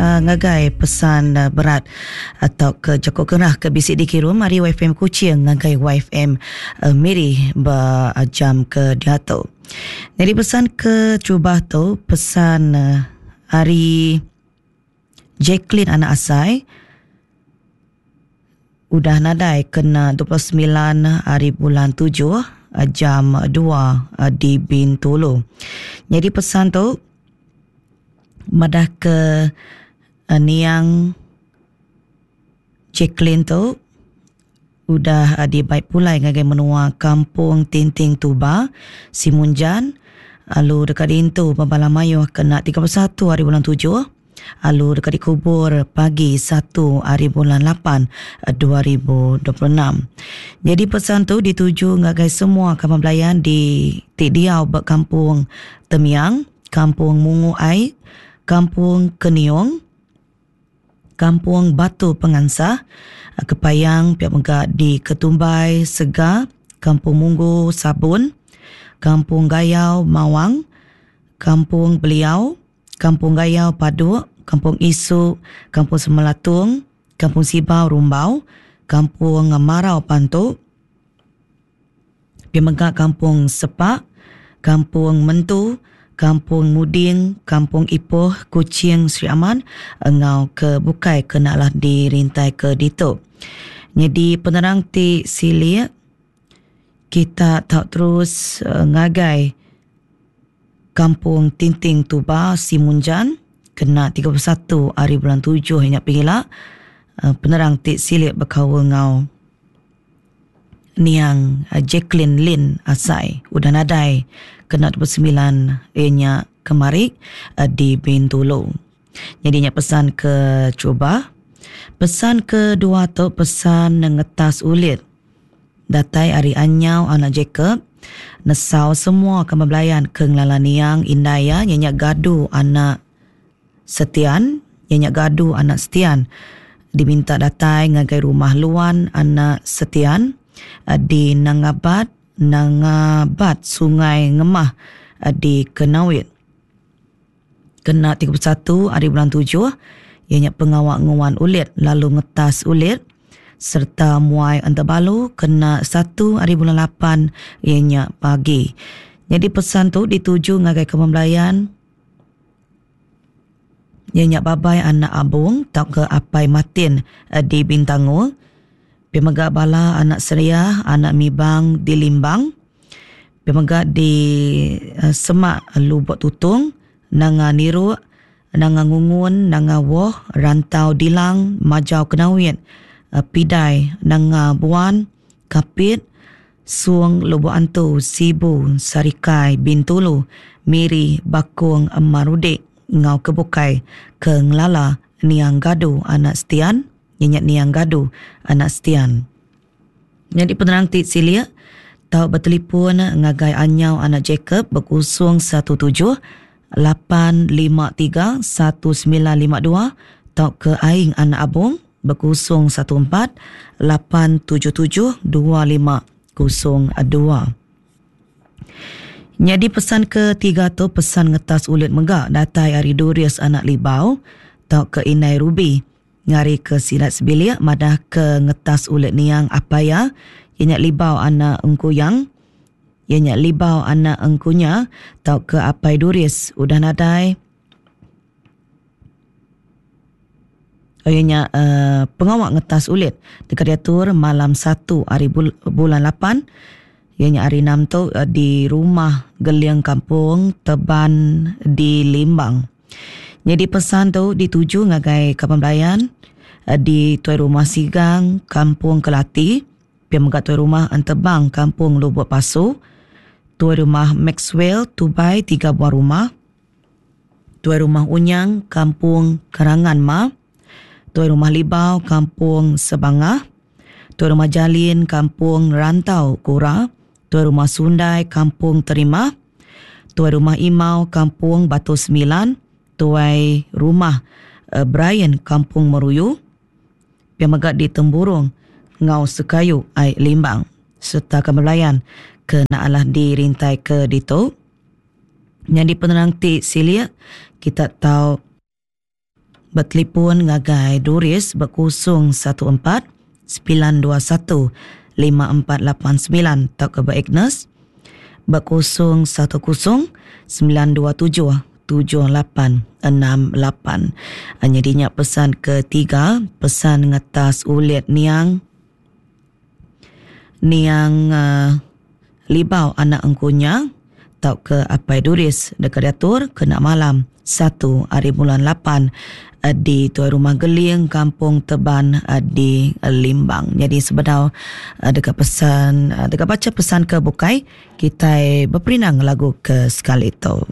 ngagai pesan berat tauka jaku gerah ke bisi dikirum ari YFM Kuching ngagai YFM Miri ba jam ke diatu. Nyadi pesan ke terubah tu pesan ari Jacqueline anak Asai udah nadai kena 29 hari bulan 7 jam 2 di Bintulu. Nyadi pesan tu madah ke niang Jacqueline tu udah dibai pulai ngagai menua Kampung Tinting Tuba, Simunjan lalu deka diintu ba bala mayuh kena 31 hari bulan tujuh lalu deka dikubur pagi satu hari bulan lapan 2026. Nyadi pesan tu dituju ngagai semua kaban belayan di ti diau ba Kampung Temiang, Kampung Mungu Ai, Kampung Keniong, Kampung Batu Pengansah, Kepayang pia mega di Ketumbai Sega, Kampung Munggu Sabun, Kampung Gayau Mawang, Kampung Beliau, Kampung Gayau Paduk, Kampung Isu, Kampung Semelatung, Kampung Sibau Rumbau, Kampung Marau Pantu, Pia mega Kampung Sepak, Kampung Mentu, Kampung Muding, Kampung Ipoh, Kuching, Sri Aman enggau ke bukai ke enda alah dirintaika ditu. Nyadi penerang ti silik kita tau terus ngagai Kampung Tinting Tuba Simunjan kena 31 hari bulan tujuh nya pegila penerang ti silik bekaul enggau Niang Jacqueline Lin Asai udah nadai kena 29 iya nya kemari di Bintulu. Nyadi nya pesan ke cuba. Pesan kedua tu pesan ngetas ulit datai ari Anyau anak Jacob nesau semua kaban belayan ke ngelala niang indai iya nya Gadu anak Setian, iya nya Gadu anak Setian, diminta datai ngagai rumah Luan anak Setian di Nangabat, Nangabat Sungai Ngemah di Kenawit. Kena 31 hari bulan tujuh, iya nya pengawa nguan ulit lalu ngetas ulit sereta muai entebalu kena satu hari bulan lapan iya nya pagi. Nyadi pesan tu dituju ngagai kaban belayan. Iya nya Babai anak Abong tauka Apai Matin di Bintangor. Pia mega bala anak Seriah anak Mibang di Limbang. Pia mega di semak Lubok Tutong, Nanga Niruk, Nanga Ngungun, Nanga Woh, Rantau Dilang, Majau Kenawit, Pidai, Nanga Buan, Kapit, Sung, Lubok Antu, Sibu, Sarikai, Bintulu, Miri, Bakong, Marudik enggau ke bukai ke ngelala Niang Gadu anak Setian, iya nya Niang Gadu anak Setian. Nyadi penerang ti silik tau betelipun ngagai Anyau anak Jacob bekusung 17 853 1952 tauka Aing anak Abong bekusung 14 877 2502. Nyadi pesan ketiga tu pesan ngetas ulit mega datai ari Durius anak Libau tauka Indai Ruby ngarika sida sebilik madahka ngetas ulit niang apai iya, iya nya Libau anak Engkuyang, iya nya Libau anak Engkunya tauka apai Duris udah nadai. Iya nya uhh pengawa ngetas ulit deka diatur malam satu ari bulan lapan iya nya hari enam tu di Rumah Geling Kampung Teban di Limbang. Nyadi pesan tu dituju ngagai kaban belayan di Tuai Rumah Sigang Kampung Kelati, pia mega Tuai Rumah Entebang Kampung Lubok Pasu, Tuai Rumah Maxwell Tubai tiga buah rumah, Tuai Rumah Unyang Kampung Kerangan Ma, Tuai Rumah Libau Kampung Sebangah, Tuai Rumah Jalin Kampung Rantau Kura, Tuai Rumah Sundai Kampung Terima, Tuai Rumah Imau Kampung Batu Semilan, Tuai Rumah Brian Kampung Meruyu, pia mega di Temburong enggau Sekayu Ai Limbang sereta kaban belayan ke enda alah dirintai ke ditu. Nyadi penerang ti silik kita tau Betelipun ngagai Doris ba 014 921 5489 tauka ba Agnes ba 010 927 7868. Nyadi nya pesan ketiga, pesan ngetas ulit niang niang uh, Libau anak Engkunya tauka Apai Duris deka diatur kena malam satu ari bulan lapan di Tuai Rumah Geling, Kampung Teban di Limbang. Nyadi sebedau deka pesan deka bacha pesan ke bukai, kitai beperindang lagu ke sekali tu.